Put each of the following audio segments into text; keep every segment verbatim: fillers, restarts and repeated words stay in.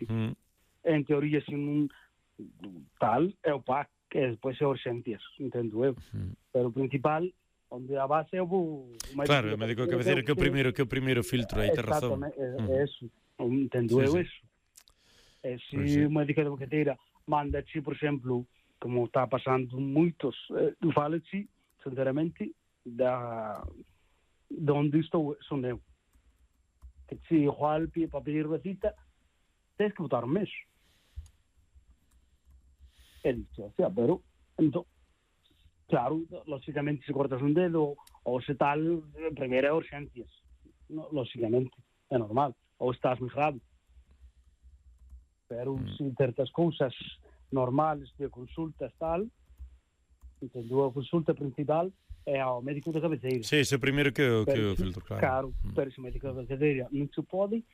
mm. en teoría, sin un tal, é o P A C, que despois é urxencias, entendo eu. Mm. Pero o principal, onde a base é o médico. Claro, o médico de cabeceira que é o primeiro, que é o primeiro filtro, aí te razón. Exactamente, é, é eso. Entendo eu eso. E se pues o médico de cabeceira manda chi, por exemplo, como está pasando moitos, eh, fala-te, sinceramente, da de onde estou, son eu. Que se igual para pedir recita, tens que botar un mes. É dicho, o sea, pero, entón, claro, lógicamente, se cortas un dedo, ou se tal, primeiro é urgencias. No, lógicamente, é normal. Ou estás moi grave. Pero, mm. se certas cousas normales de consultas tal, entendo, a consulta principal é ao médico de cabeceira. Sí, ese primeiro que o, que o filtro, claro. Claro, mm. pero se o médico de cabeceira non se pode,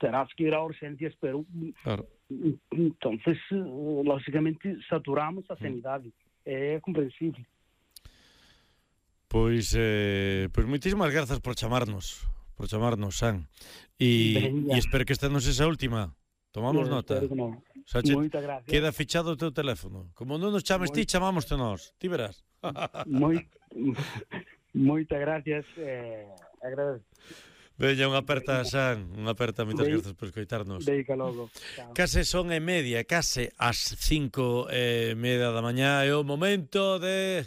terás que ir a urgencias, pero claro. Entonces, lógicamente, saturamos a sanidade. Mm. É comprensible. Pois, eh, pois moitísimas grazas por chamarnos, por chamarnos, San. E, e espero que esta non sexa a última. Tomamos sí, nota. No. Xa che, moita gracias. Queda fichado o teu teléfono. Como non nos chames Moi... ti, chamámoste nós. Ti verás. Moi... Moita gracias. Eh, agradezo. Veña, unha aperta, San, unha aperta, moitas grazas por escoitarnos. Deica logo. Case son e media, case as cinco e media da mañá, é o momento de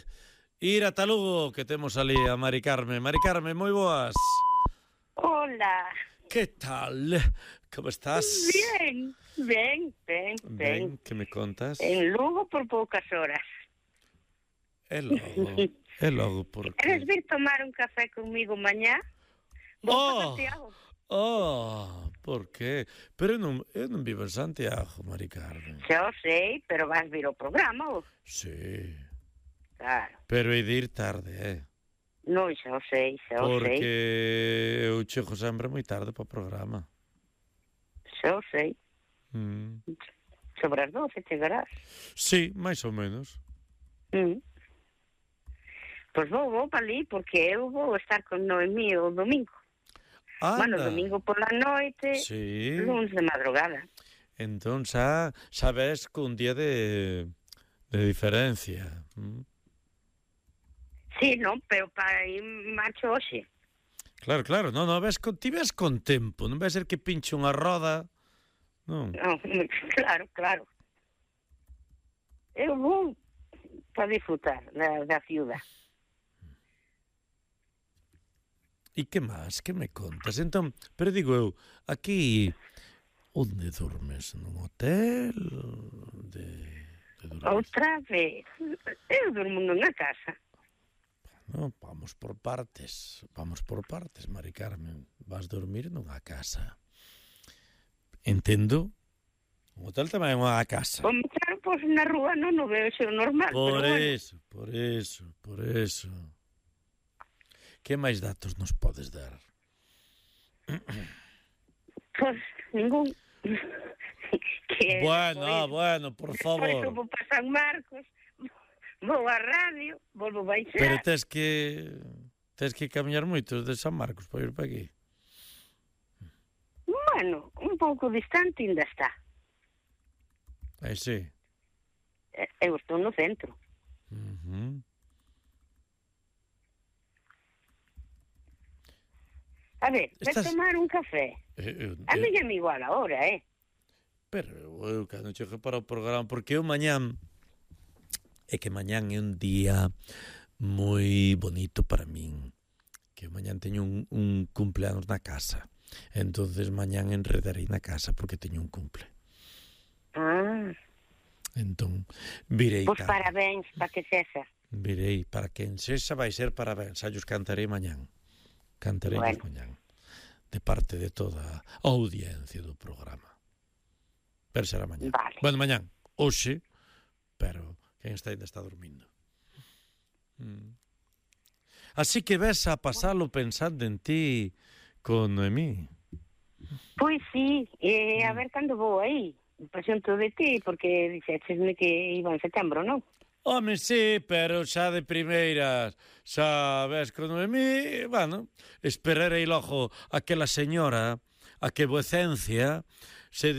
ir a Talugo, que temos ali a Mari Carmen. Mari Carmen, moi boas. Hola. Que tal? Como estás? Bien, ben, ben, ben. Ben, que me contas? En Lugo por poucas horas. É logo, é logo, porque... Queres vir tomar un café comigo mañá? Vou oh, para Santiago. Oh, por qué? Pero eu non, eu non vivo en Santiago, Mari Carmen. Xa o sei, pero vas vir ao programa, ou? Sí. Claro. Pero hai de ir tarde, eh? Non, xa o sei, xa o Porque sei. Porque eu chego sempre moi tarde para o programa. Xa o sei. Mm. Sobre as doce chegarás. Sí, máis ou menos. Mm. Pois vou, vou para ali, porque eu vou estar con Noemí o domingo. Anda. Bueno, domingo por la noite, sí. lunes de madrugada. Entón xa sabes que un día de, de diferencia. Mm. Sí, non, pero para ir marcho hoxe. Claro, claro, non, non, ves con, ti ves con tempo, non vai ser que pinche unha roda, non? Non, claro, claro. Eu vou para disfrutar da, da ciudad. E que máis? Que me contas? Entón, pero digo eu, aquí, onde dormes? Nun hotel? De, de outra vez, eu durmo nunha casa. No, vamos por partes, vamos por partes, Mari Carmen. Vas dormir nunha casa. Entendo? Un hotel tamén é unha casa. Como claro, pois na rúa non o veo xo normal. Por pero eso, bueno. por eso, por eso. Que máis datos nos podes dar? Pois ningún. que bueno, ah, bueno, por favor. Por eso vou para San Marcos, vou á radio, volvo baixar. Pero tes que tes que camiñar moito de San Marcos para ir para aquí. Bueno, un pouco distante ainda está. Aí sí. Eu estou no centro. Uh-huh. A ver, Estás... vai tomar un café. Eh, eu, a eu... mí é igual agora, eh? Pero eu cando chegue para o programa, porque eu mañán é que mañán é un día moi bonito para min, que eu mañán teño un, un cumpleanos na casa, entonces mañán enredarei na casa porque teño un cumple. Ah. Entón, virei Pois pues parabéns, para que sexa. Virei, para quen sexa vai ser parabéns, xa os cantarei mañán. Cantarei bueno. mañán, de parte de toda a audiencia do programa. Pero será mañán. Vale. Bueno, mañán, hoxe, pero quen está ainda está dormindo. Mm. Así que ves a pasalo pensando en ti con Noemí. Pois sí, eh, a ver cando vou aí. Presento de ti, porque dixéchesme que iba en setembro, non? Home, sí, pero xa de primeiras, xa ves con Noemí, bueno, esperarei logo aquela señora a que vuecencia se di